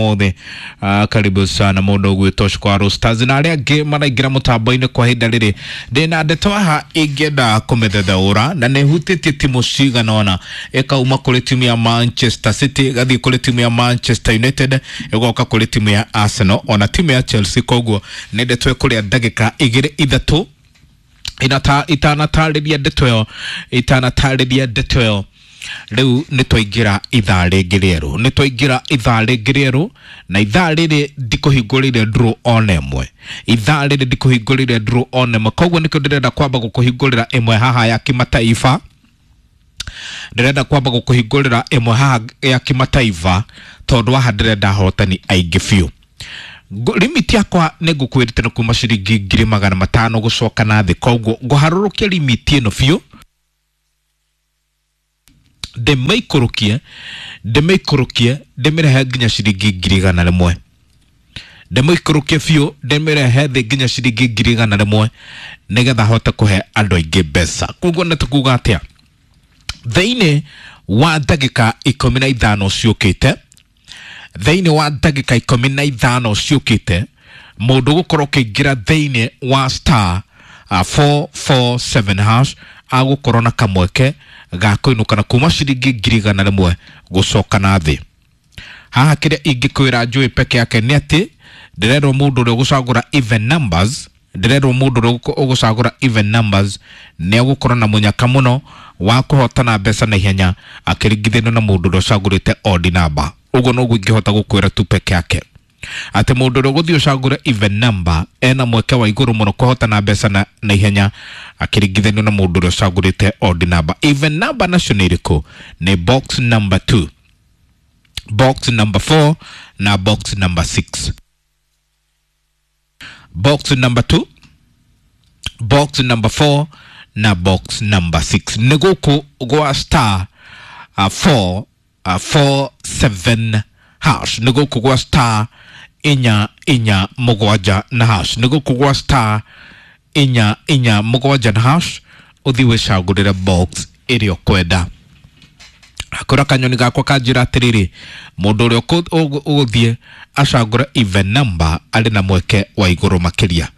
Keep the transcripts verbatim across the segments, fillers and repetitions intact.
ũmũthĩ. uh, karibu sana mũndũ ũgwĩtwo Shkwaro Stars na arĩa angĩ maraingĩra mũtambo-inĩ kwa ihinda rĩrĩ. Ndĩna ndeto haha ingĩenda kũmĩthetheũra na nĩ hutĩtie timu cigana ũna, ĩkauma kũrĩ timu ya Manchester City ĩgathiĩ kũrĩ timu ya Manchester United ĩgoka kũrĩ timu ya Arsenal ona timu ya Chelsea. Koguo nĩ ndeto ĩkũrĩa ndagĩka igĩrĩ ithatũ inata itanatarĩria ndeto ĩyo itanatarĩria ndeto ĩyo. Rĩu nĩ twaingĩra ithaa rĩngĩ rĩerũ, nĩ twaingĩra ithaa rĩngĩ rĩerũ, na ithaa rĩrĩ ndikũhingũrĩire draw ona ĩmwe, ithaa rĩrĩ ndikũhingũrĩire draw ona ĩmwe. Koguo nĩkĩo ndĩrenda kwamba gũkũhingũrĩra ĩmwe haha ya kimataifa, ndĩrenda kwamba gũkũhingũrĩra ĩmwe haha ya kimataifa tondũ haha ndĩrenda ahotani aingĩ biũ. Limit yakwa nĩ ngũkwĩrĩte nĩ kuma ciringi ngiri magana matano gũcoka na thĩ, koguo ngũharũrũkia limit ĩno biũ ndĩmĩikũrũkie ndĩmĩikũrũkie ndĩmĩrehe nginya ciringi ngiri igana rĩmwe, ndĩmĩikũrũkie biũ ndĩmĩrehe thĩ nginya ciringi ngiri igana rĩmwe nĩgetha hote kũhe andũ aingĩ mbeca. Koguo nĩ tũkuga atĩa thĩinĩ wa ndagĩka ikũmi na ithano ciũkĩte, thĩinĩ wa ndagĩka ikũmi na ithano ciũkĩte mũndũ gũkorwo ũkĩingĩra thĩinĩ wa star uh, four four seven hash agũkorwo na kamweke ga kũinũka na kuma ciringi ngiri igana rĩmwe gũcoka na thĩ. Haha kĩrĩa ingĩkwĩra njũĩ peke yake nĩ atĩ ndĩrerwo mũndũ ũrĩa ũgũcagũra even numbers, ndĩrerwo mũndũ ũrĩa ũgũcagũra even numbers nĩ agũkorwo na mũnyaka mũno wa kũhotana mbeca na ihenya akĩringithanio na mũndũ ũrĩa ũcagũrĩte odd number. Ũguo noguo ingĩhota gũkwĩra tu peke yake atĩ mũndũ ũrĩa ũgũthiĩ ũcagũre even number ena mweke wa igũrũ mũno kũhotana mbeca na, na ihenya akĩringithanio na mũndũ ũrĩa ũcagũrĩte odd number. Even number nacio nĩ irĩkũ? Nĩ box number two, box number four na box number six. Box number two, box number four na box number six. Nĩ gũkũ gwa star uh, four uh, four seven hash, nĩ gũkũ gwa star inya inya mũgwanja na hash, nĩ gũkũ gwa star inya inya mũgwanja na hash ũthiĩ wĩcagũrĩre box ĩrĩa ũkwenda. Akora kanyoni gakwa kanjĩra atĩrĩrĩ, mũndũ ũrĩa ũgũthiĩ acagũre even number arĩ na mweke wa igũrũ makĩria.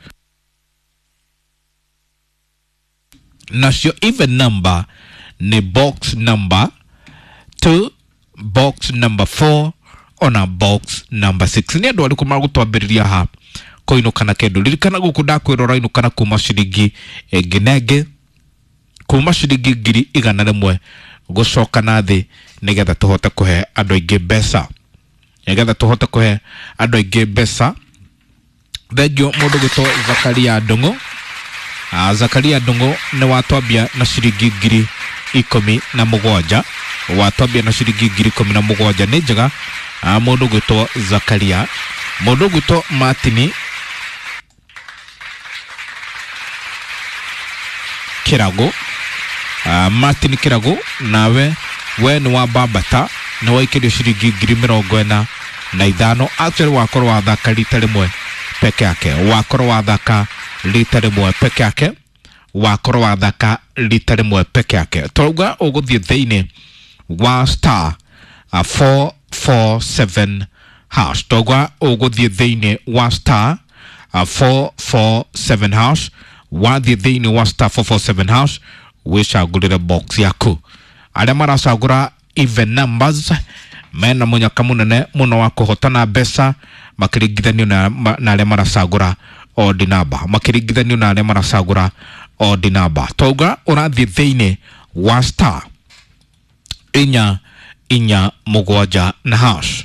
Nacio even number nĩ box number two, box number four ona box number six. Nĩ andũ arĩkũ magũtwambĩrĩria ha kũinũka na kĩndũ? Ririkana gũkũ ndakwĩra ũrainũka na kuma ciringi ĩngĩ na ĩngĩ, kuma ciringi ngiri igana rĩmwe gũcoka na thĩ nĩgetha tũhote kũhe andũ aingĩ mbeca, nĩgetha tũhote kũhe andũ aingĩ mbeca. Thengiũ mũndũ gwĩtwo Zakaria Ndung'u. Ah, Zakaria Ndung'u nĩ watwambia na ciringi ngiri ikũmi na mũgwanja, watwambia na ciringi ngiri ikũmi na mũgwanja nĩ njega. Ah, mũndũ gwĩtwo Zakaria. Mũndũ gwĩtwo Martini Kĩrago, uh, Martin Kĩrago nawe we nĩ wa Bambata nĩ waikĩrio ciringi ngiri mĩrongo ĩna na ithano. Actually wakorwo wathaka rita rĩmwe peke yake, wakorwo wathaka rita rĩmwe peke yake, wakorwo wathaka rita rĩmwe peke yake. Twauga ũgũthiĩ thĩinĩ wa star uh, four four seven hash, twauga ũgũthiĩ thĩinĩ wa star uh, four four seven hash, wathiĩ thĩinĩ wa star four four seven hash wĩcagũrĩre box yaku. Arĩa maracagũra even numbers mena mũnyaka mũnene mũno wa kũhotana mbeca makĩringithanio na, na arĩa maracagũra odd number, makĩringithanio na arĩa maracagũra odd number. Twauga ũrathiĩ thĩinĩ wa star inya inya mũgwanja na hash,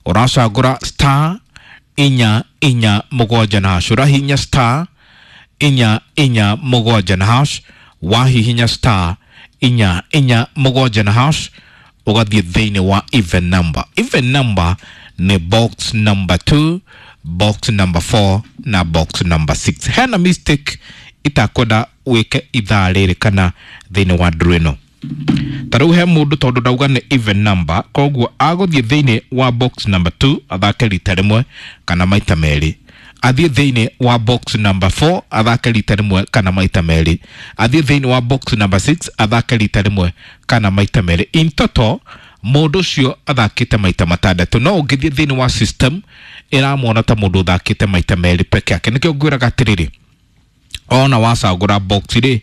ũracagũra star inya inya mũgwanja na hash, ũrahihinya star inya inya mũgwanja na hash, wahihinya star inya inya mũgwanja na hash ũgathiĩ thĩinĩ wa even number. Even number nĩ box number two, box number four na box number six. Hena mistake itakwenda wĩke ithaa rĩrĩ kana thĩinĩ wa draw ĩno. Ta rĩu he mũndũ tondũ ndauga nĩ even number, koguo agũthiĩ thĩinĩ wa box number two athake rita rĩmwe kana maita merĩ, athiĩ thĩinĩ wa box number four athake rita rĩmwe kana maita merĩ, athiĩ thĩinĩ wa box number six athake rita rĩmwe kana maita merĩ. In total Mũndũ ũcio athakĩte maita matandatũ, no ũngĩthiĩ thĩinĩ wa system ĩramwona ta mũndũ ũthakĩte maita merĩ peke yake. Nĩkĩo ngwĩraga atĩrĩrĩ, ona wacagũra box rĩ,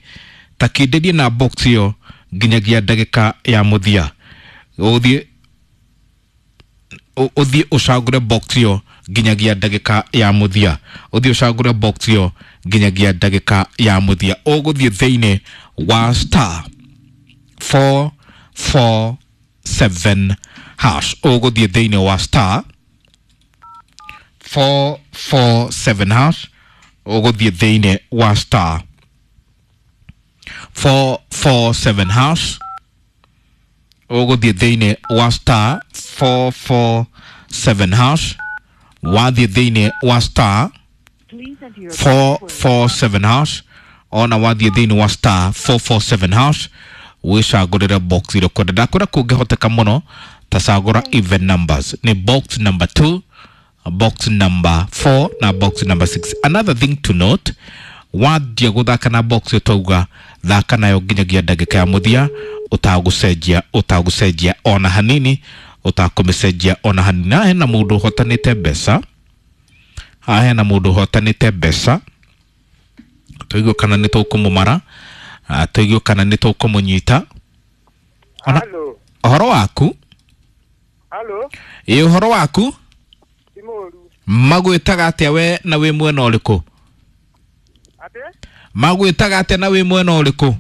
ta kĩndĩrie na box ĩyo nginyagia ndagĩka ya mũthia. Ũthiĩ ũthiĩ ũcagũre box ĩyo nginyagia ndagĩka ya mũthia, ũthiĩ ũcagũre box ĩyo nginyagia ndagĩka ya mũthia. Ũgũthiĩ thĩinĩ wa star four four seven hash, ũgũthiĩ thĩinĩ wa star four four seven hash, ũgũthiĩ thĩinĩ wa star four four seven hash, ũgũthiĩ thĩinĩ wa star four four seven hash, wathiĩ thĩinĩ wa star four four seven hash, ona wathiĩ thĩinĩ wa star four four seven hash wĩcagũrĩre box ĩrĩa ũkwenda. Ndakwĩra kũngĩhoteka mũno ta cagũra even numbers, nĩ box number two, box number four na box number six. Another thing to note, wanjia gũthaka na box ĩyo twauga thaka nayo nginyagia ndagĩka ya mũthia, ũtagũcenjia ũtagũcenjia ona hanini, ũtakũmĩcenjia ona hanini. Na hena mũndũ ũhotanĩte mbeca haha, hena mũndũ ũhotanĩte mbeca, tũigue kana nĩ tũkũmũmara, tũigue kana nĩ tũkũmũnyita. Halo. Ũhoro waku? Halo. Ĩ, ũhoro waku? Ti mũru. Magwĩtaga atĩa we na wĩ mwena ũrĩkũ? Atĩ? Magwĩtaga atĩa na wĩ mwena ũrĩkũ?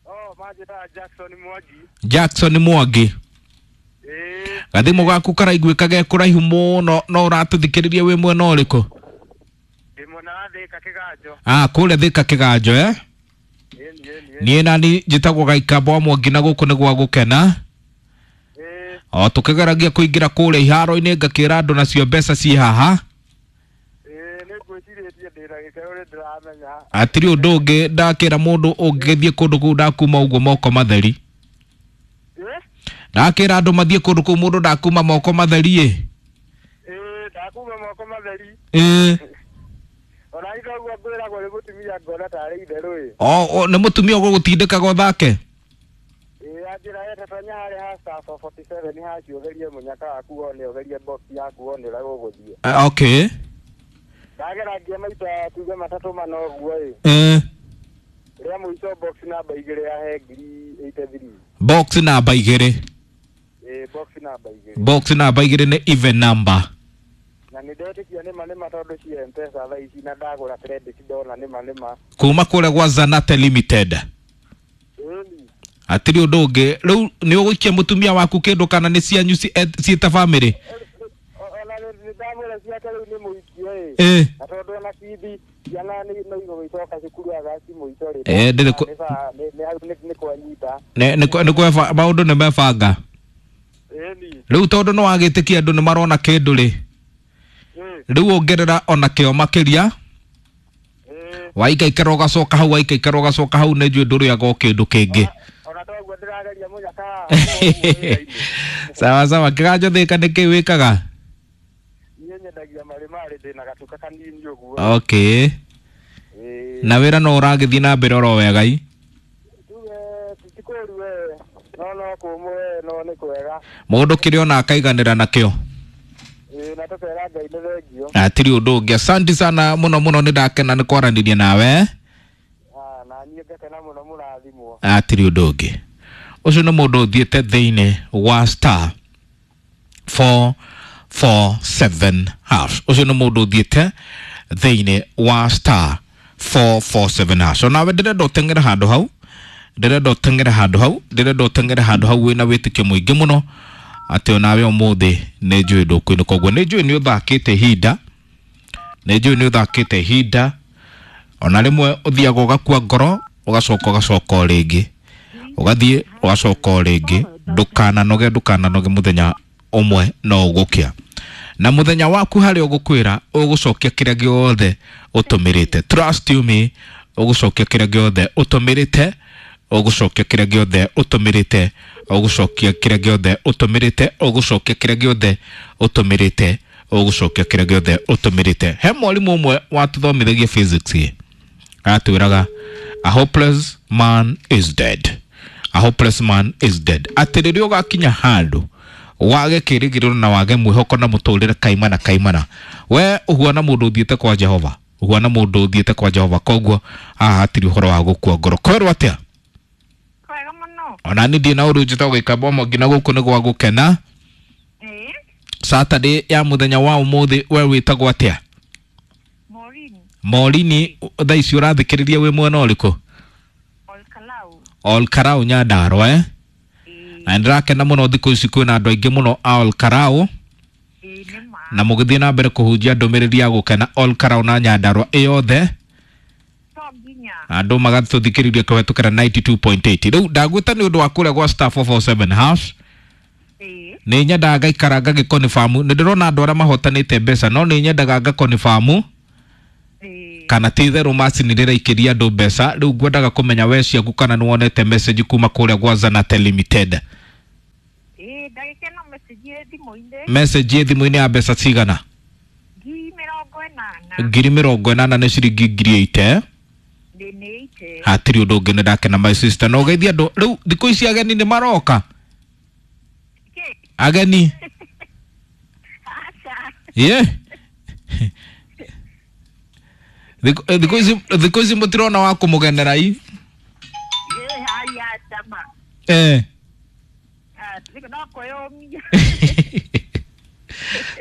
Oh, manjĩtaga Jackson Mwangi. Jackson Mwangi. Ĩĩ. Gathimũ gaku karaiguĩka ge kũraihu mũno, no ũratũthikĩrĩria wĩ mwena ũrĩkũ? Ndĩ mwena wa Thĩka Kĩganjo. Ah, kũrĩa Thĩka Kĩganjo, eh? Ĩni, ĩni, ĩni. Niĩ nani njĩtagwo Gaikambo wa Mwangi na gũkũ nĩ gwa gũkena. Ĩĩ. O tũkĩgeragia kũingĩra kũrĩa iharo-inĩ ngakĩra andũ nacio mbeca ciĩ haha. Ĩĩ, nĩ ngwĩcirĩtie ndĩna gĩkeno nĩ ndĩramenya. Hatirĩ ũndũ ũngĩ ndakĩra mũndũ ũngĩthiĩ kũndũ kũu ndakuma ũguo moko matheri. Ĩĩ? Ndakĩra andũ mathiĩ kũndũ kũu mũndũ ndakuma moko matheri ĩ. Ĩĩ, ndakuma moko matheri. Ĩĩ. Ona ithe ũguo ngwĩragwo nĩ mũtumia ngona tarĩ itherũ ĩ. O, o nĩ mũtumia ũgũgũtindĩkaga ũthake? Ĩĩ, anjĩra ete tonya harĩa ha star four forty seven hash ũgerie mũnyaka waku wone, ũgerie box yaku wone ũrĩa gũgũthiĩ. Uh, okay. Ndageragia maita tuge matatũ mana ũguo ĩ. Ĩĩ. Rĩa mũico box namba igĩrĩ yahe ngiri eighty three. Box namba igĩrĩ. Ĩĩ, box namba igĩrĩ. Box namba igĩrĩ nĩ even number. Na nĩ ndetĩkia nĩma nĩma tondũ cia M-Pesa thaa ici na ndagũra credit ndona nĩma nĩma. Kuma kũrĩa gwa Zanate Limited. Ĩni. Hatirĩ ũndũ ũngĩ. Rĩu nĩ ũgũikia mũtumia waku kĩndũ kana nĩ cianyu ciĩ ta family? Ona nĩ ndamwĩra ciake rĩu nĩ mũikie ĩ. Ĩĩ. Na tondũ ona bithi ciana nĩ no igũgĩcoka cukuru Agasti mũico rĩ. Ĩĩ, ndĩrĩ kũ- Nĩ ba- nĩ nĩ hau nĩ- nĩ kwanyita. Nĩ nĩ nĩ kweba maũndũ nĩ mebanga. Ĩni. Rĩu tondũ nĩ wagĩtĩkia andũ nĩ marona kĩndũ rĩ. Ĩĩ. Rĩu ongerera ona kĩo makĩria. Ĩĩ. Waikaikara ũgacoka hau, waikaikara ũgacoka hau, nĩ njũĩ ndũrĩaga o kĩndũ kĩngĩ. Ona toguo ndĩrageria mũnyaka haha. Sawa sawa, Kĩganjo Thĩka nĩ kĩĩ wĩkaga? Niĩ nyendagia marĩmarĩ ndĩna gatuka kanini ũguo. Okay. Ĩĩ. Na wĩra no ũragĩthiĩ na mbere oro wega i? Tuge ti kũũru we, no no kũmũ we, no nĩ kwega. Mũndũ kĩrĩa ona akaiganĩra nakĩo. Ĩĩ, na tũkera Ngai nĩ thengio. Hatirĩ ũndũ ũngĩ. Asante sana mũno mũno, nĩ ndakena nĩ kwaranĩria nawe. Ah, na niĩ ngakena mũno mũrathimwo. Hatirĩ ũndũ ũngĩ. Ũcio nĩ mũndũ ũthiĩte thĩinĩ wa star four four seven hash. Ũcio nĩ mũndũ ũthiĩte thĩinĩ wa star four four seven hash. Onawe ndĩrenda ũteng'ere handũ hau, ndĩrenda ũteng'ere handũ hau, ndĩrenda ũteng'ere handũ hau wĩna wĩtĩkio mũingĩ mũno atĩ onawe ũmũthĩ nĩ njũĩ ndũkũinũka. Ũguo nĩ njũĩ nĩ ũthakĩte ihinda, nĩ njũĩ nĩ ũthakĩte ihinda, ona rĩmwe ũthiaga ũgakua ngoro ũgacoka ũgacoka o rĩngĩ, ũgathiĩ ũgacoka o rĩngĩ. Ndũkananoge, ndũkananoge, mũthenya ũmwe no ũgũkĩa. Na mũthenya waku harĩa ũgũkwĩra ũgũcokia kĩrĩa gĩothe ũtũmĩrĩte. Trust you me, ũgũcokia kĩrĩa gĩothe ũtũmĩrĩte, ũgũcokia kĩrĩa gĩothe ũtũmĩrĩte, ũgũcokia kĩrĩa gĩothe ũtũmĩrĩte, ũgũcokia kĩrĩa gĩothe ũtũmĩrĩte, ũgũcokia kĩrĩa gĩothe ũtũmĩrĩte. He mwarimũ ũmwe watũthomithagia physics ĩ, atwĩraga a hopeless man is dead. A hopeless man is dead. Atĩ rĩrĩa ũgakinya handũ wage kĩrĩgĩrĩro na wage mwĩhoko na mũtũrĩre kaimana kaimana, we ũhuana mũndũ ũthiĩte kwa Jehova, ũhuana mũndũ ũthiĩte kwa Jehova. Koguo haha hatirĩ ũhoro wa gũkua ngoro. Kwerwo atĩa? Kwega mũno. Ona niĩ ndirĩ na ũru, njĩtagwo Gĩkamba Mwangi na gũkũ nĩ gwa gũkena. Ĩĩ. Saturday ya mũthenya wa ũmũthĩ, we wĩtagwo atĩa? Maureen. Morini, thaa ici ũrathikĩrĩria wĩ mwena ũrĩkũ? Olkalau. Olkarau, Nyandarua, eh? Ĩĩ. Na nĩndĩrakena mũno, thikũ ici kwĩna andũ aingĩ mũno a Olkarau. Ĩĩ, nĩ ma. Na mũgĩthiĩ na mbere kũhunjia ndũmĩrĩri ya gũkena Olkarau na Nyandarua ĩyothe. To nginya. Andũ magatũthikĩrĩria kũhetũkĩra ninety two point eight. Rĩu ndagwĩta nĩ ũndũ wa kũrĩa gwa star four four seven hash. Ĩĩ. Nĩ nyendaga ngaikara ngagĩkonibamu, nĩ ndĩrona andũ arĩa mahotanĩte mbeca, no nĩ nyendaga ngakonibamu Ĩĩ. kana ti itherũ macini rĩraikĩria andũ mbeca. Rĩu ngwendaga kũmenya we ciaku kana nĩ wonete message kuma kũrĩa gwa Zanate Limited. Ĩĩ, ndagĩka ĩno message ĩ thimũ-inĩ. Message ĩ thimũ-inĩ ya mbeca cigana? Ngiri mĩrongo ĩnana. Ngiri mĩrongo ĩnana nĩ ciringi ngiri eight, eh? Ndĩ nĩ eight. Hatirĩ ũndũ ũngĩ, nĩ ndakena, my sister, na ũgeithie andũ. Rĩu thikũ ici ageni nĩ maroka? Kĩ? Ageni. Aca. Ye thikũ thikũ ici thikũ ici mũtirona wa kũmũgenera i? Ĩĩ, haya tama. Eh. Ah, no kwĩyũmia.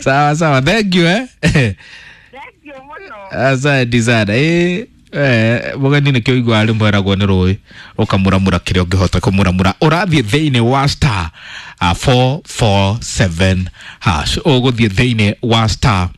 Sawa sawa, thank you, eh. Thank you mũno. Asante sana. Eh, eh, mũgeni nĩkĩo ũiguaga rĩmwe eragwo nĩ rũĩ ũkamũramũra kĩrĩa ũngĩhota kũmũramũra. Ũrathiĩ thĩinĩ wa star uh, four four seven hash, ũgũthiĩ thĩinĩ wa star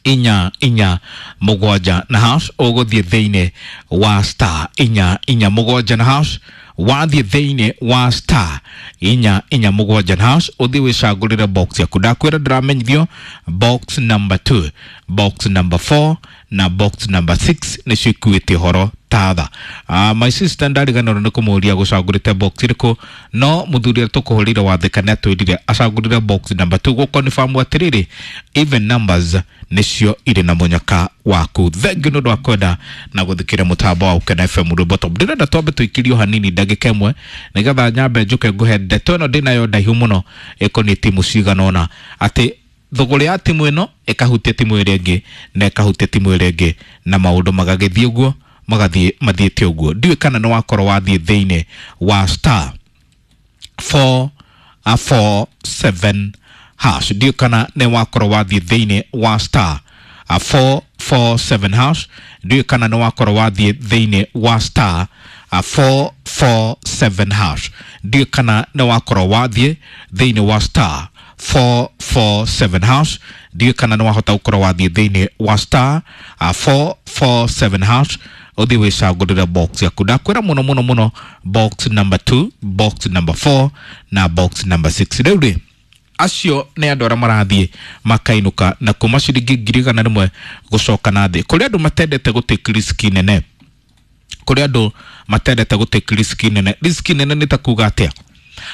inya inya mũgwanja na hash, ũgũthiĩ thĩinĩ wa star inya inya mũgwanja na hash. Wathiĩ thĩinĩ wa star inya inya mũgwanja na hash, ũthiĩ wĩcagũrĩre box yaku. Ndakwĩra ndĩramenyithio box number two, box number four na box number six nĩcio ikuĩte ũhoro tatha. Uh, my sister ndariganĩrwo nĩ kũmũria gũcagũrĩte box ĩrĩkũ, no mũthuri ũrĩa tũkũhũrĩire wathĩka nĩ atwĩrire acagũrire box number two, gũkonfamu atĩrĩrĩ even numbers nĩcio irĩ na mũnyaka waku. Thengi nĩ ũndũ wa kwenda na gũthikĩrĩria mũtambo wa Gũkena F M rwĩmbo top. Ndĩrenda twambe tũikĩrio hanini ndagĩka ĩmwe nĩgetha nyambe njũke ngũhe ndeto ĩno ndĩnayo ndaihu mũno ĩkoniĩ timu cigana ũna, atĩ thũgũrĩ ya timu ĩno ĩkahutia timu ĩrĩa ĩngĩ na ĩkahutia timu ĩrĩa ĩngĩ, na maũndũ magagĩthiĩ ũguo magathiĩ mathiĩte ũguo. Ndiũĩ kana nĩ wakorwo wathiĩ thĩinĩ wa star four four seven hash, ndiũĩ kana nĩ wakorwo wathiĩ thĩinĩ wa star four four seven hash, ndiũĩ kana nĩ wakorwo wathiĩ thĩinĩ wa star four four seven hash, ndiũĩ kana nĩ wakorwo wathiĩ thĩinĩ wa star four four seven hash, ndiũĩ kana nĩ wahota gũkorwo wathiĩ thĩinĩ wa star four four seven hash, ũthiĩ wĩcagũrĩre box yaku. Ndakwĩra mũno mũno mũno box number two, box number four na box number six. Rĩu rĩ, acio nĩ andũ arĩa marathiĩ makainũka na kuma ciringi ngiri igana rĩmwe gũcoka na thĩ. Kũrĩ andũ matendete gũtake risk nene, kũrĩ andũ matendete gũtake risk nene. Risk nene nĩ ta kuga atĩa?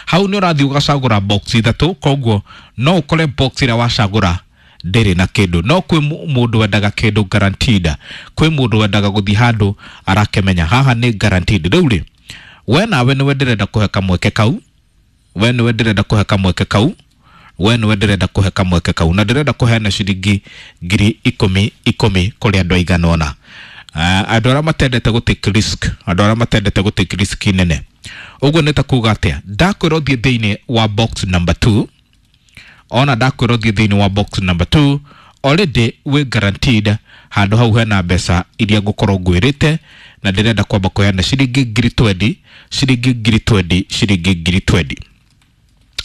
Hau nĩ ũrathiĩ ũgacagũra box ithatũ, koguo no ũkore box ĩrĩa wacagũra ndĩrĩ na kĩndũ, no kwĩ mũndũ wendaga kĩndũ guaranteed, kwĩ mũndũ wendaga gũthiĩ handũ arakĩmenya haha nĩ guaranteed. Rĩu rĩ, we nawe nĩwe ndĩrenda kũhe kamweke kau, we nĩwe ndĩrenda kũhe kamweke kau, we nĩwe ndĩrenda kũhe kamweke kau, na ndĩrenda kũheana ciringi ngiri ikũmi ikũmi kũrĩ andũ aigana ũna, andũ arĩa matendete gũtake risk, andũ arĩa matendete gũtake risk nene. Ũguo nĩ ta kuga atĩa? Ndakwĩra ũthiĩ thĩinĩ wa box number two, ona ndakwĩra ũthiĩ thĩinĩ wa box number two, already wĩ guaranteed handũ hau hena mbeca iria ngũkorwo ngwĩrĩte, na ndĩrenda kwamba kũheana ciringi ngiri twenty, ciringi ngiri twenty, ciringi ngiri twenty,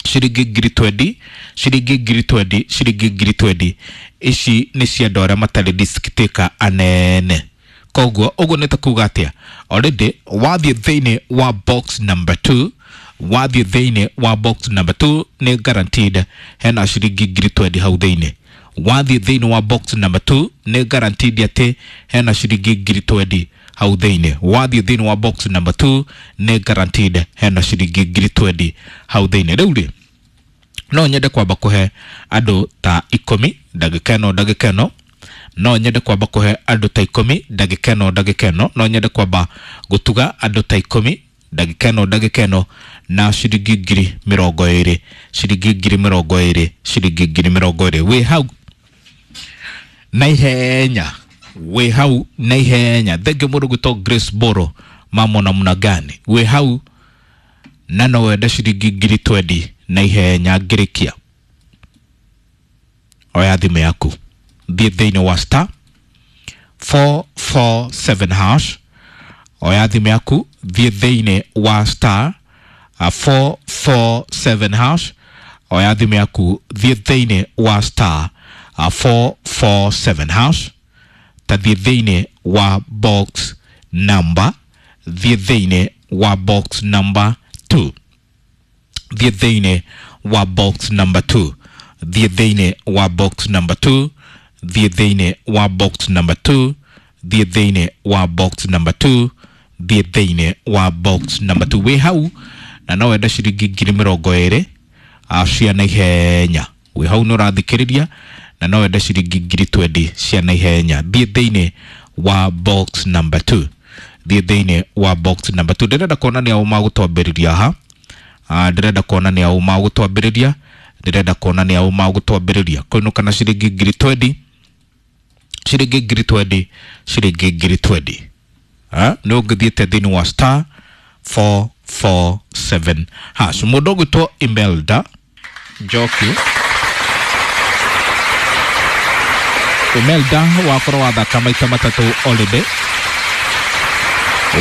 ciringi ngiri twenty, ciringi ngiri twenty, ciringi ngiri twenty. Ici nĩ cia andũ arĩa matarĩ risk taker anene. Koguo ũguo nĩ ta kuga atĩa? Already wathiĩ thĩinĩ wa box number two, wathiĩ thĩinĩ wa box number two nĩ guaranteed hena ciringi ngiri twenty hau thĩinĩ. Wathiĩ thĩinĩ wa box number two nĩ guaranteed atĩ hena ciringi ngiri twenty hau thĩinĩ. Wathiĩ thĩinĩ wa box number two nĩ guaranteed hena ciringi ngiri twenty hau thĩinĩ. Rĩu rĩ, no nyende kwamba kũhe andũ ta ikũmi ndagĩka ĩno, ndagĩka ĩno no nyende kwamba kũhe andũ ta ikũmi ndagĩka ĩno, ndagĩka ĩno no nyende kwamba gũtuga andũ ta ikũmi Ndagĩka ĩno ndagĩka ĩno na ciringi ngiri mĩrongo ĩrĩ, ciringi ngiri mĩrongo ĩrĩ, ciringi ngiri mĩrongo ĩrĩ. Wĩ hau na ihenya, wĩ hau na ihenya. Thengiũ mũndũ gwĩtwo Grace Boro, mambo namna gani? Wĩ hau na no wende ciringi ngiri twendi na ihenya ngĩrĩkia. Oya thimũ yaku, thiĩ thĩinĩ wa star four four seven hash. Oya thimũ yaku, thiĩ thĩinĩ wa star four four seven hash. Oya thimũ yaku, thiĩ thĩinĩ wa star four four seven hash. Ta thiĩ thĩinĩ wa box number, thiĩ thĩinĩ wa box number two, thiĩ thĩinĩ wa box number two, thiĩ thĩinĩ wa box number two, thiĩ thĩinĩ wa box number two, thiĩ thĩinĩ wa box number two, thiĩ thĩinĩ wa box number two. Wĩ hau na no wende ciringi ngiri mĩrongo ĩrĩ cia naihenya. Wĩ hau nĩ ũrathikĩrĩria na no wende ciringi ngiri twendi cia naihenya. Thiĩ thĩinĩ wa box number two, thiĩ thĩinĩ wa box number two. Ndĩrenda kuona nĩ aũ magũtwambĩrĩria ha. Ndĩrenda kuona nĩ aũ magũtwambĩrĩria, ndĩrenda kuona nĩ aũ magũtwambĩrĩria kũinũka na ciringi ngiri twendi, ciringi ngiri twendi, ciringi ngiri twendi. Nĩ ũngĩthiĩte thĩinĩ wa star four four seven hash. Mũndũ ũgwĩtwo Imelda Njoki, Imelda wakorwo wathaka maita matatũ already,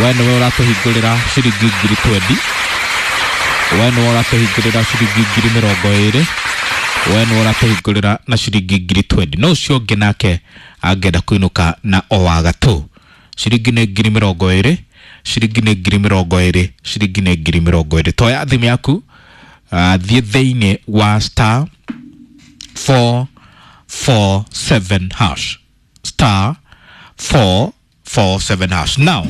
we nĩwe ũratũhingũrĩra ciringi ngiri twendi, we nĩwe ũratũhingũrĩra ciringi ngiri mĩrongo ĩrĩ, we nĩwe ũratũhingũrĩra na ciringi ngiri twendi. No ũcio ũngĩ nake angĩenda kũinũka na o wa gatũ, ciringi nĩ ngiri mĩrongo ĩrĩ, ciringi nĩ ngiri mĩrongo ĩrĩ, ciringi nĩ ngiri mĩrongo ĩrĩ. Toya thimũ yaku, thiĩ thĩinĩ wa star four four seven hash, star four four seven hash. Now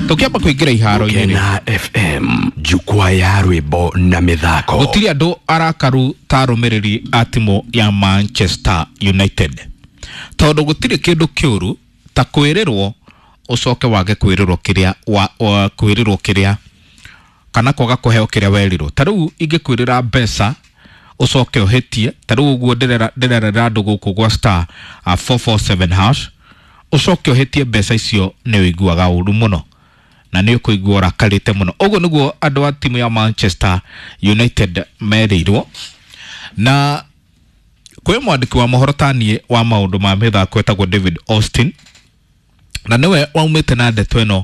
tukiamba kuingira iharo-inĩ Gũkena F M, jukwaa ya rwĩmbo na mĩthako. Gũtirĩ andũ arakaru ta arũmĩrĩri a timu ya Manchester United, tondũ gũtirĩ kĩndũ kĩũru ta kwĩrĩrwo ũcoke wage kwĩrĩrwo kĩrĩa wa kwĩrĩrwo kĩrĩa kana kwaga kũheo kĩrĩa werirwo. Ta rĩu ingĩkwĩrĩra mbeca ũcoke ũhĩtie, ta rĩu ũguo ndĩrerera andũ gũkũ gwa star four four seven hash, ũcoke ũhĩtie mbeca icio nĩ ũiguaga ũru mũno na nĩ ũkũigua ũrakarĩte mũno. Ũguo nĩguo andũ a timu ya Manchester United merĩirwo. Na kwĩ mwandĩki wa mohoro ta niĩ wa maũndũ ma mĩthako etagwo David Austin, na nĩwe waumĩte na ndeto ĩno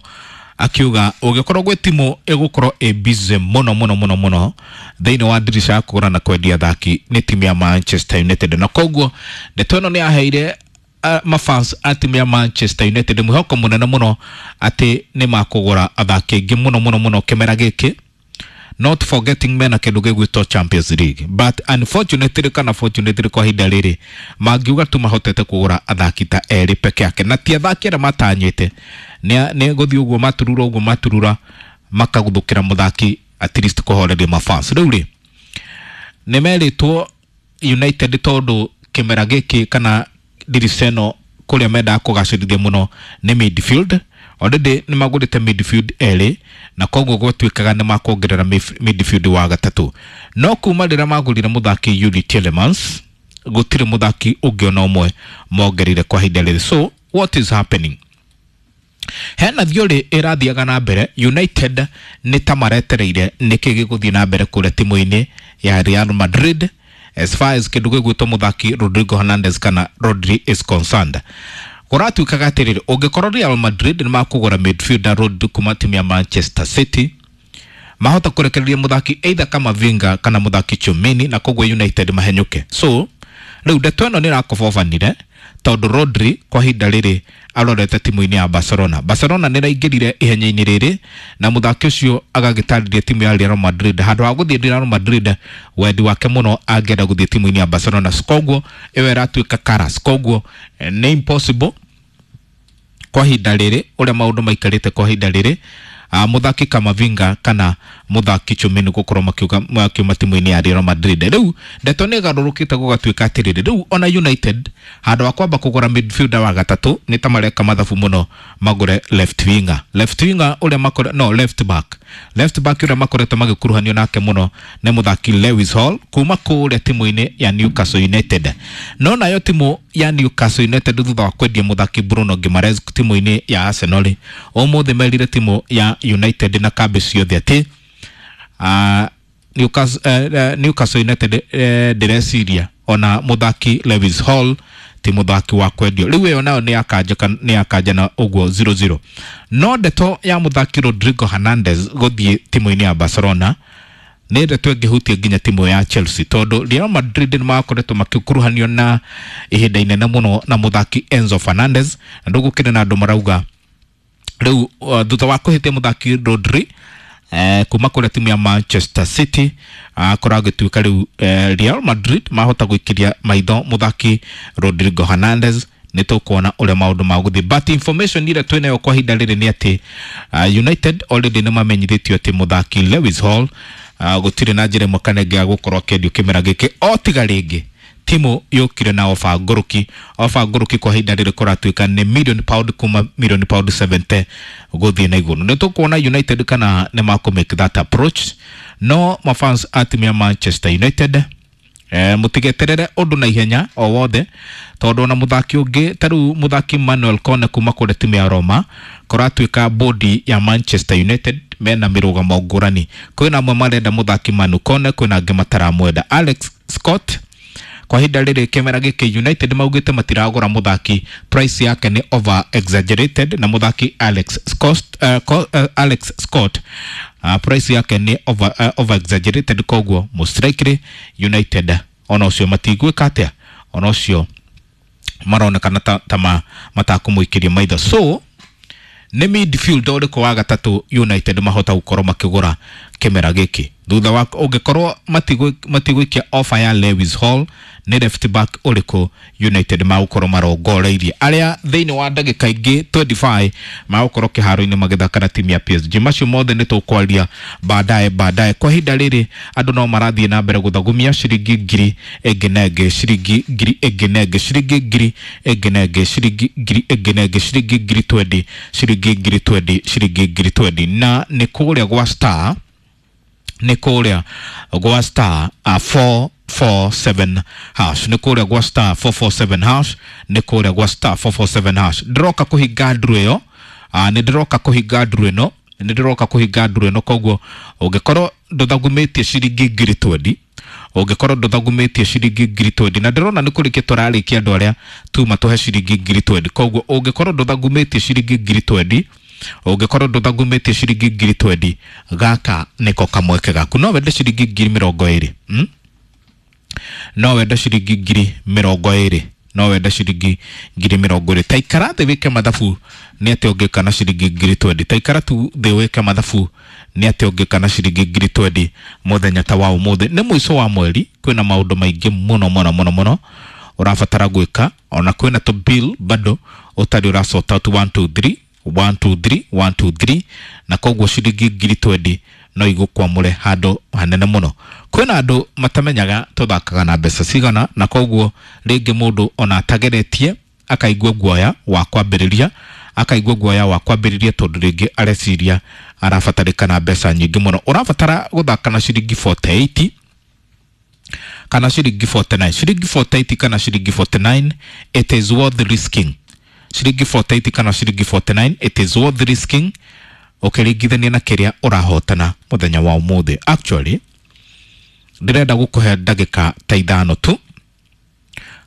akiuga ũngĩkorwo gwĩ timu ĩgũkorwo ĩ busy mũno mũno mũno mũno thĩinĩ wa ndirisha ya kũgũra na kwendia athaki nĩ timu ya Manchester United. Na koguo ndeto ĩno nĩ yaheire uh, mafans a timu ya Manchester United mwĩhoko mũnene mũno atĩ nĩ makũgũra athaki aingĩ mũno mũno mũno kĩmera gĩkĩ, not forgetting mena kĩndũ gĩgwĩtwo Champions League. But unfortunately kana fortunately kwa ihinda rĩrĩ mangiuga tu mahotete kũgũra athaki ta erĩ peke yake, na ti athaki arĩa matanyĩte nĩ gũthiĩ ũguo maturura ũguo maturura makaguthũkĩra mũthaki at least kũhoreria mafans. Rĩu rĩ nĩ merĩtwo United tondũ kĩmera gĩkĩ kana ndirica ĩno kũrĩa mendaga kũgacĩrithia mũno nĩ midfield. Already nĩ magũrĩte midfield erĩ na koguo gwatuĩkaga nĩ makuongerera midfield wa gatatũ. No kuma rĩrĩa magũrire mũthaki Yuri Tielemans gũtirĩ mũthaki ũngĩ ona ũmwe mongereire kwa ihinda rĩrĩ. So what is happening? Hena theory ĩrathiaga na mbere United nĩ ta maretereire nĩkĩ gĩgũthiĩ na mbere kũrĩa timu-inĩ ya Real Madrid as far as kĩndũ gĩgwĩtwo mũthaki Rodrigo Hernandez kana Rodri is concerned. Kũratuĩkaga atĩrĩrĩ, ũngĩkorwo Real Madrid nĩ makũgũra midfielder Rodri kuma timu ya Manchester City, mahota kũrekereria mũthaki either Kamavinga kana mũthaki Chomini, na koguo United mahenyũke. So rĩu ndeto ĩno nĩ ĩrakobobanire tondũ Rodri kwa ihinda rĩrĩ arorete timu-inĩ ya Barcelona. Barcelona nĩ ĩraingĩrire ihenya-inĩ rĩrĩ na mũthaki ũcio agagĩtarĩria timu ya Real Madrid handũ ha gũthiĩ Real Madrid wendi wake mũno angĩenda gũthiĩ timu-inĩ ya Barcelona. Koguo ĩyo ĩratuĩka karas. Koguo nĩ impossible kwa ihinda rĩrĩ ũrĩa maũndũ maikarĩte kwa ihinda rĩrĩ mũthaki Kamavinga kana mũthaki Chomini gũkorwo makiuga makiuma timu-inĩ ya Real Madrid. Rĩu ndeto nĩ ĩgarũrũkĩte gũgatuĩka atĩrĩrĩ, rĩu ona United handũ ha kwamba kũgũra midfielder wa gatatũ nĩ ta mareka mathabu mũno magũre left winger. Left winger ũrĩa makore no left back Left back ũrĩa makoretwo magĩkuruhanio nake mũno nĩ mũthaki Lewis Hall kuma kũrĩa timu-inĩ ya Newcastle United. No nayo timu ya Newcastle United thutha wa kwendia mũthaki Bruno Guimaraes timu-inĩ ya Arsenal, ũmũthĩ merire timu ya United na kambĩ ciothe atĩ uh, Newcastle, uh, Newcastle United uh, ndĩreciria ona mũthaki Lewis Hall ti mũthaki wa kwendio. Rĩu ĩyo nayo nĩ yakanja nĩ yakanja na ũguo zero zero. No ndeto ya mũthaki Rodrigo Hernandez gũthiĩ timu-inĩ ya Barcelona nĩ ndeto ĩngĩhutia nginya timu ya Chelsea, tondũ Real Madrid nĩ makoretwo makĩkuruhanio na ihinda inene mũno na mũthaki Enzo Fernandez, na ndũgũkĩrĩ na andũ marauga rĩu uh, thutha wa kũhĩtia mũthaki Rodri eh, kuma kũrĩa timu ya Manchester City akorwo agĩtuĩka rĩu eh, Real Madrid mahota gũikĩria maitho mũthaki Rodrigo Hernandez. Nĩ tũkuona ũrĩa maũndũ magũthiĩ, but information ĩrĩa twĩnayo kwa ihinda rĩrĩ nĩ atĩ uh, United already nĩ mamenyithĩtio atĩ mũthaki Lewis Hall uh, gũtirĩ na njĩra ĩmwe kana ĩngĩ ya gũkorwo akĩendio kĩmera gĩkĩ, o tiga rĩngĩ timu yũkire na ofa ngũrũki. Ofa ngũrũki kwa ihinda rĩrĩ kũratuĩka nĩ million pound kuma million pound seventy gũthiĩ na igũrũ. Nĩ tũkuona United kana nĩ makũ make that approach. No mafans a timu ya Manchester United eh, mũtigeterere ũndũ na ihenya o wothe, tondũ ona mũthaki ũngĩ ta rĩu mũthaki Manuel Kone kuma kũrĩa timu ya Roma kũratuĩka bodi ya Manchester United mena mĩrũgamo ngũrani. Kwĩna amwe marenda mũthaki Manu Kone, kwĩna angĩ mataramwenda. Alex Scott kwa ihinda rĩrĩ kĩmera gĩkĩ United maugĩte matiragũra mũthaki, price yake nĩ over exaggerated, na mũthaki Alex Scott, uh, uh, Alex Scott uh, price yake nĩ over, uh, over exaggerated, koguo mũstrikeri United ona ũcio matigwĩka atĩa, ona ũcio maronekana ta, ta ma, matakũmũikĩria maitho. So nĩ midfield ũrĩkũ wa gatatũ United mahota gũkorwo makĩgũra kĩmera gĩkĩ thutha wa ũngĩkorwo matigũikia offer ya Lewis Hall, nĩ left back ũrĩkũ United magũkorwo marongoreirie arĩa thĩinĩ wa ndagĩka ingĩ twenty-five magũkorwo kĩharo-inĩ magĩthaka na timu ya P S G. Macio mothe nĩ tũkwaria baadaye baadaye. Kwa ihinda rĩrĩ andũ no marathiĩ na mbere gũthagumia ciringi ngiri ĩngĩ na ĩngĩ, ciringi ngiri ĩngĩ na ĩngĩ, ciringi ngiri ĩngĩ na ĩngĩ, ciringi ngiri ĩngĩ na ĩngĩ, ciringi ngiri twenty, ciringi ngiri twenty, ciringi ngiri twenty, na nĩ kũrĩa gwa star, nĩ kũrĩa gwa star uh, four four seven hash, nĩ kũrĩa gwa star four four seven hash, nĩ kũrĩa gwa star four four seven hash. Ndĩroka kũhinga nduru ĩyo, uh, nĩ ndĩroka kũhinga nduru ĩno, nĩ ndĩroka kũhinga nduru ĩno. Koguo ũngĩkorwo ndũthagumĩtie ciringi ngiri twenty, ũngĩkorwo ndũthagumĩtie ciringi ngiri twenty, na ndĩrona nĩ kũrĩkia tũrarĩkia andũ arĩa tuma tũhe ciringi ngiri twenty. Koguo ũngĩkorwo ndũthagumĩtie ciringi ngiri twenty, ũngĩkorwo ndũthagumĩtie ciringi ngiri twenty, gaka nĩko kamweke gaku. No wende ciringi ngiri mĩrongo ĩrĩ, hmm? No wende ciringi ngiri mĩrongo ĩrĩ, no wende ciringi ngiri mĩrongo ĩrĩ. Ta ikara thĩ wĩke mathabu nĩ atĩa ũngĩka na ciringi ngiri twenty. Ta ikara tu thĩ wĩke mathabu nĩ atĩa ũngĩka na ciringi ngiri twenty mũthenya ta wa ũmũthĩ. Nĩ mũico wa mweri, kwĩna maũndũ maingĩ mũno mũno mũno mũno ũrabatara gwĩka, ona kwĩna tũ bill bado ũtarĩ ũra sort out one two three one two three one two three, na koguo ciringi ngiri twenty no igũkwamũre handũ hanene mũno. Kwĩna andũ matamenyaga tũthakaga na mbeca cigana, na koguo rĩngĩ mũndũ ona atageretie akaigua guoya wa kwambĩrĩria, akaigua guoya wa kwambĩrĩria tondũ rĩngĩ areciria arabatarĩkana mbeca nyingĩ mũno. Ũrabatara gũthaka na ciringi forty-eight kana ciringi forty-nine, ciringi forty-eight kana ciringi forty-nine, it is worth risking. Ciringi forty-eight kana ciringi forty-nine, it is worth risking ũkĩringithania na kĩrĩa ũrahotana mũthenya wa ũmũthĩ. Actually ndĩrenda gũkũhe ndagĩka ta ithano tu,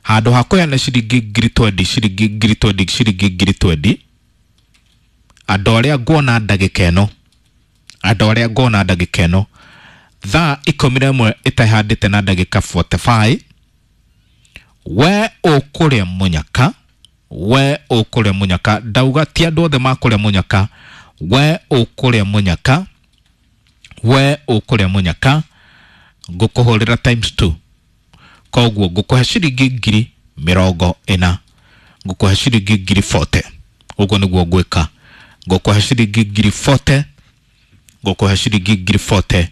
handũ ha kũheana ciringi ngiri twenty, ciringi ngiri twenty, ciringi ngiri twenty, andũ arĩa nguona ndagĩka ĩno, andũ arĩa nguona ndagĩka ĩno thaa ikũmi na ĩmwe ĩtehandĩte na ndagĩka forty-five, we ũkũrĩa mũnyaka, we ũkũrĩa mũnyaka. Ndauga ti andũ othe makũrĩa mũnyaka, we ũkũrĩa mũnyaka, we ũkũrĩa mũnyaka, ngũkũhũrĩra times two. Koguo ngũkũhe ciringi ngiri mĩrongo ĩna, ngũkũhe ciringi ngiri forty. Ũguo nĩguo ngwĩka, ngũkũhe ciringi ngiri forty, ngũkũhe ciringi ngiri forty,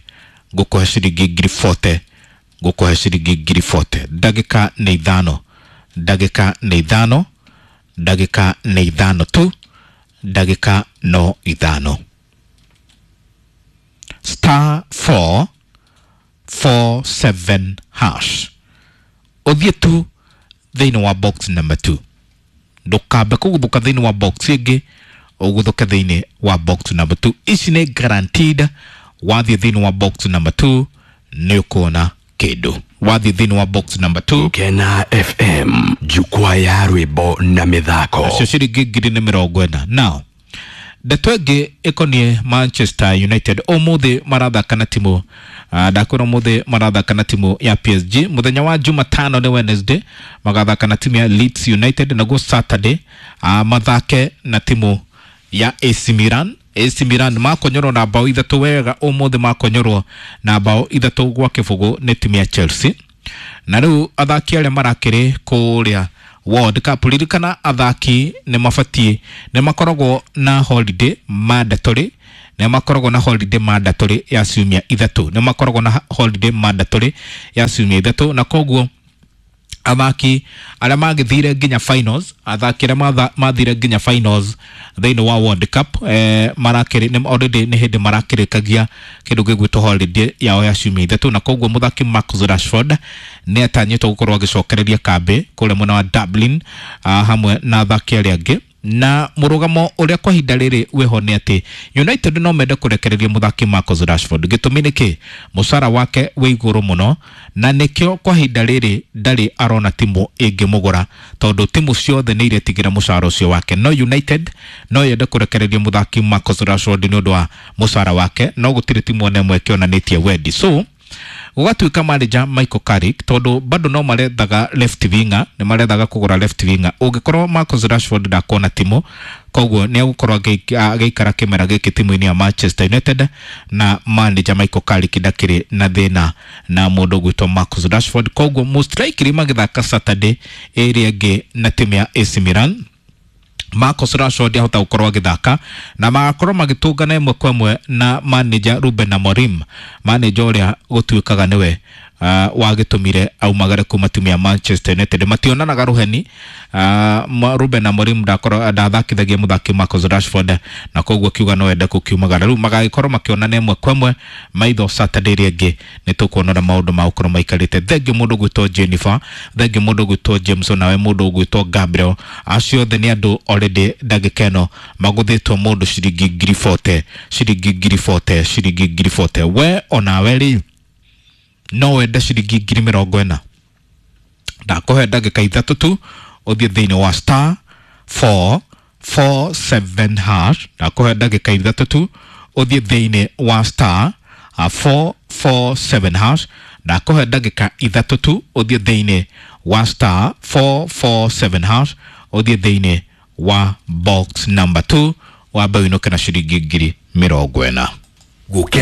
ngũkũhe ciringi ngiri forty, ngũkũhe ciringi ngiri forty. Ndagĩka nĩ ithano, ndagĩka nĩ ithano, ndagĩka nĩ ithano tu, ndagĩka no ithano. star four four seven hash, ũthiĩ tu thĩinĩ wa box number two, ndũkambe kũguthũka thĩinĩ wa box ĩngĩ, ũguthũke thĩinĩ wa box number two. Ici nĩ guaranteed, wathiĩ thĩinĩ wa box number two nĩ ũkuona kĩndũ. Wathiĩ thĩinĩ wa box number two. Gukena F M, jukwaa ya rwĩmbo na mĩthako. Nacio ciringi ngiri nĩ mĩrongo ĩna. Now ndeto ĩngĩ ĩkoniĩ Manchester United, ũmũthĩ marathaka na timu uh, ndakwĩra ũmũthĩ marathaka na timu ya P S G. Mũthenya wa Jumatano nĩ Wednesday magathaka na timu ya Leeds United, naguo Saturday uh, mathake na timu ya A C Milan. A C Milan makonyorwo na bao ithatũ wega ũmũthĩ, makonyorwo na bao ithatũ gwa kĩbũgũ nĩ timu ya Chelsea. Na rĩu athaki arĩa marakĩrĩ kũrĩa World Cup, ririkana athaki nĩ mabatiĩ, nĩ makoragwo na holiday mandatory, nĩ makoragwo na holiday mandatory ya ciumia ithatũ, nĩ makoragwo na holiday mandatory ya ciumia ithatũ, na koguo athaki arĩa magĩthire nginya finals, athaki arĩa mathire nginya finals thĩinĩ wa World Cup eh, marakĩrĩ nĩ already nĩ hĩndĩ marakĩrĩkagia kĩndũ gĩgwĩtwo holiday yao ya ciumia ithatũ, na koguo mũthaki Marcus Rashford nĩ atanyĩtwo gũkorwo agĩcokereria kambĩ kũrĩa mwena wa Dublin uh, hamwe na athaki arĩa angĩ. Na mũrũgamo ũrĩa kwa ihinda rĩrĩ wĩho nĩ atĩ United no mende kũrekereria mũthaki Marcus Rashford. Gĩtũmi nĩ kĩ? Mũcara wake wĩ igũrũ mũno, na nĩkĩo kwa ihinda rĩrĩ ndarĩ arona timu ĩngĩmũgũra, tondũ timu ciothe nĩ iretigĩra mũcara ũcio wake. No United no yende kũrekereria mũthaki Marcus Rashford nĩ ũndũ wa mũcara wake, no gũtirĩ timu ona ĩmwe ĩkĩonanĩtie wendi. So gũgatuĩka manager Michael Carrick, tondũ bado no marethaga left winger, nĩ marethaga kũgũra left winger. Ũngĩkorwo Marcus Rashford ndakuona timu, koguo nĩ egũkorwo agĩikara kĩmera gĩkĩ timu-inĩ ya Manchester United, na manager Michael Carrick ndakĩrĩ na thĩna na mũndũ ũgwĩtwo Marcus Rashford. Koguo most likely magĩthaka Saturday ĩrĩa ĩngĩ na timu ya A C Milan, Marcus Rashford ahota gũkorwo agĩthaka na magakorwo magĩtũngana ĩmwe kwa ĩmwe na manager Ruben Amorim, manager ũrĩa gũtuĩkaga nĩwe uh, wagĩtũmire aumagare kuma timu ya Manchester United. Mationanaga rũheni, uh, Ruben Amorim ndakorwo ndathakithagia mũthaki Marcus Rashford, na koguo kiuga no ende gũkiumagara. Rĩu magagĩkorwo makĩonana ĩmwe kwa ĩmwe maitho Saturday ĩrĩa ĩngĩ, nĩ tũkuona ũrĩa maũndũ magũkorwo maikarĩte. Thengiũ mũndũ ũgwĩtwo Jennifer, thengiũ mũndũ ũgwĩtwo James, nawe mũndũ ũgwĩtwo Gabriel, acio othe nĩ andũ already ndagĩka ĩno magũthĩtwo mũndũ ciringi ngiri forty, ciringi ngiri forty, ciringi ngiri forty. We onawe rĩ no wende ciringi ngiri mĩrongo ĩna, ndakũhe ndagĩka ithatũ tu ũthiĩ thĩinĩ wa star four four seven hash, ndakũhe ndagĩka ithatũ tu ũthiĩ thĩinĩ wa star four four seven hash, ndakũhe ndagĩka ithatũ tu ũthiĩ thĩinĩ wa star four four seven hash, ũthiĩ thĩinĩ wa box number two, wambe ũinũke na ciringi ngiri mĩrongo ĩna. Gukena